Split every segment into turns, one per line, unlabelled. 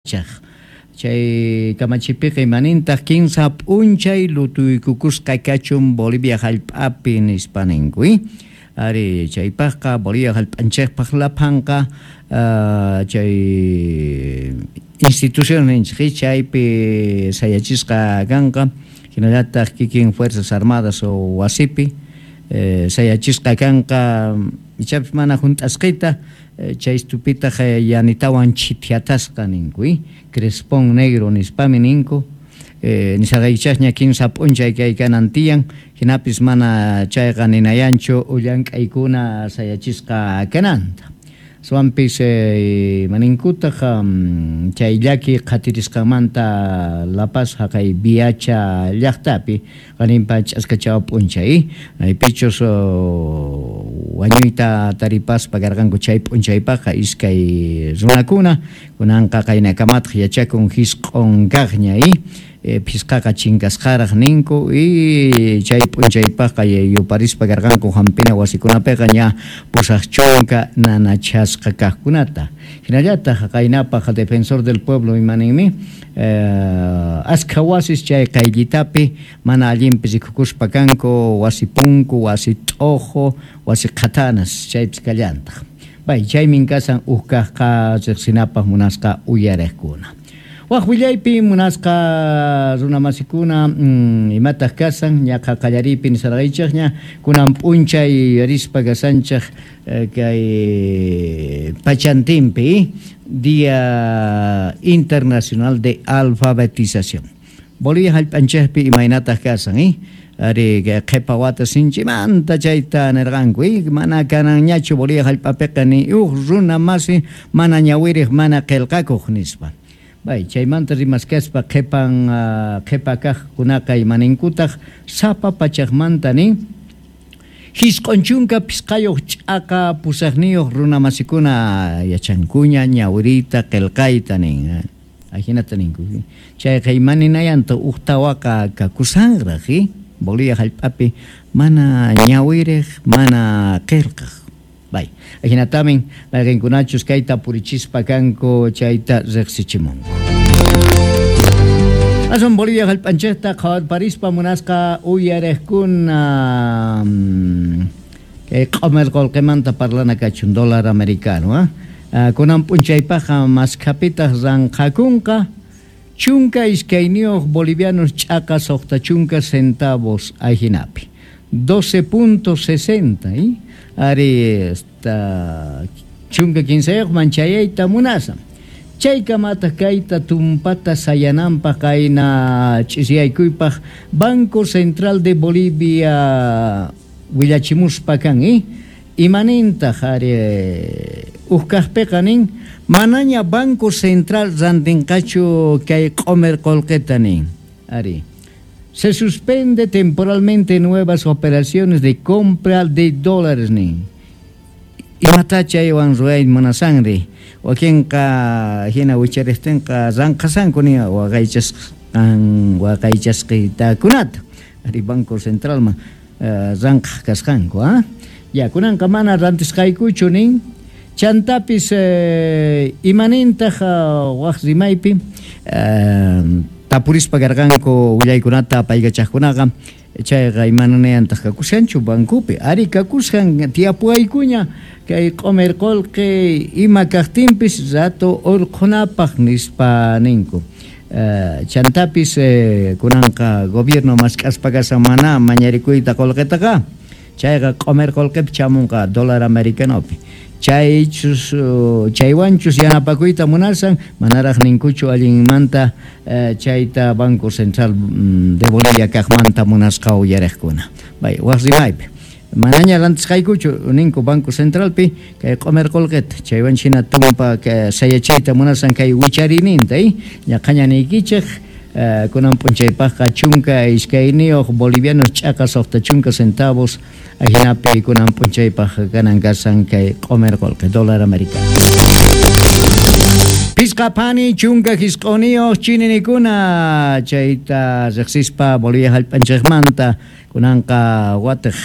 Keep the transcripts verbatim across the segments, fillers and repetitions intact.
Chay kamachipiqa imanintaq kinsa p'unchay lutuykukusqa kachun Bolivia hallp'api nispa ninku. Ari chaypaqqa Bolivia hallp'anchikpaq laphanqa uh, chay institución ninchik chaypi sayachisqa kanqa hinallataq kikin Fuerzas Armadas o wasipi eh, sayachisqa kanqa ichapis mana hunt'asqita chay stupitaq yanitawan chithiatasqa ninku, crespón negro nispami ninku, eh, nisaqaychaqña kinsa p'unchay kay kanan tiyan, hinapis mana chayqa ninayanchu llank'aykuna sayachisqa kananta. Swampis eh, maninkutaq um, chay llaki qhatirisqanmanta La Paz haqay Viacha llaqtapi qaninpa ch'askachaw p'unchay maypichus oh, wañuyta taripaspa karqanku chay p'unchaypaqqa iskay runakuna kunanqa qaynakamataq yachakun hisq'un kaqña eh, phisqaqa chinkasqaraq ninku y chay p'unchaypaqqa yuparispa karqanku hampina wasikunapiqa ña pusaq chunka nanachasqa kaqkunata. Hinallataq qaynapaq Defensor del Pueblo imaninmi eh, askha wasis chay qayllitapi mana allinpi rikukuspa kanku wasi punku, wasi t'ojo, wasi qhatanas chaypis kallantaq. Bay chaymin kasan uj kaqqa riqsinapaq munasqa uyariqkuna. Waj willaypi munasqa runamasikuna mm, imataq kasan ñaqa qallaripi nisarqaychikña kunan p'unchay yuyarispa kasanchik eh, kay pachantinpi Día Internacional de Alfabetización. Bolivia hallp'anchikpi imaynataq kasan eh? Ari qhipa wata sinchimanta chayta nirqanku eh? Mana kananñachu Bolivia hallp'apiqa ni uj runa masi mana ñawiriq mana qillqakuq nispa. Bay, chaymanta rimaskaspa qhipan uh, qhipa kaqkunaqa imaninkutaq sapa pachaqmanta nin hisq'un chunka phisqayuq ch'aqa pusaqniyuq runamasikuna yachankuña ñawiriyta qillqayta nin. Ajinata ninku. Chayqa imaninayanta uj tawaqa kakusanraq eh? Bolivia hallp'api mana ñawiriq mana qillqaq. Bay, ajinatamin mayqinkunachus kayta purichispa kanku chayta riqsichimunku. Asun Bolivia hallp'anchikta qhawarparispa munasqa uyariqkuna kay q'umir qullqimanta parlana kachun dólar americano, ah? Kunan p'unchaypaqqa maskhapitaq ranqakunqa chunka iskayniyuq bolivianos ch'aqa suqta chunka centavos ajinapi. doce punto sesenta, eh? Ari esta chunka kinsayuqman chayayta munasan. Chaykamataq kayta tumpata sayananpaq kayna ch'isiyaykuypaq Banco Central de Bolivia willachimuspa kan, eh? Imanintaq ari uj kaqpiqa nin manaña Banco Central rantinqachu kay q'umir qullqita nin. Ari se suspende temporalmente nuevas operaciones de compra de dólares nin. Imata chaywan ruway munasanri wakinqa hina wichariqtinqa ranqasanku nin waqaychasqan waqaychasqitakunata ari Banco Centralman uh, ranqaq kasqanku, ah? Ya kunanqa mana rantisqaykuchu nin. Chantapis eh, imanintaq uh, waq rimaypi uh, tapurispa karqanku willaykunata apaykachaqkunaqa chayqa imananayantaq kakushanchu bancopi ari kakushan tiyapuwaykuña kay q'umir qullqi ima kaqtinpis rato urqhunapaq nispa ninku. Uh, chantapis eh, kunanqa gobierno mask'aspa kasan mana mañarikuyta qullqitaqa chayqa q'umir qullqipi chamunqa dólar americanopi. Chaychus chaywanchus yanapakuyta munasan manaraq ninkuchu allinmanta eh, chayta Banco Central de Bolivia kaqmanta munasqa uyariqkuna. Bay, waq rimaypi manaña rantisqaykuchu ninku Banco Centralpi kay q'umir qullqita chaywan hina tumpa sayachiyta munasan kay wicharininta eh? Ñaqaña niykichik eh, kunan p'unchaypaqqa chunka iskayniyuq bolivianos ch'aqa suqta chunka centavos ajinapi kunan p'unchaypaq kanan kasan kay q'umir qullqi dólar americano. Pisqa phani chunka hisq'uniyuq chininikuna chayta riqsispa Bolivia hallp'anchikmanta kunanqa watiq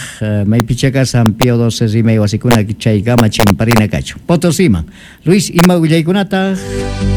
maypicha kasan Pío doce rimay wasikuna chaykama chimparina kachun. Potosiman. Luis, ima willaykunataq?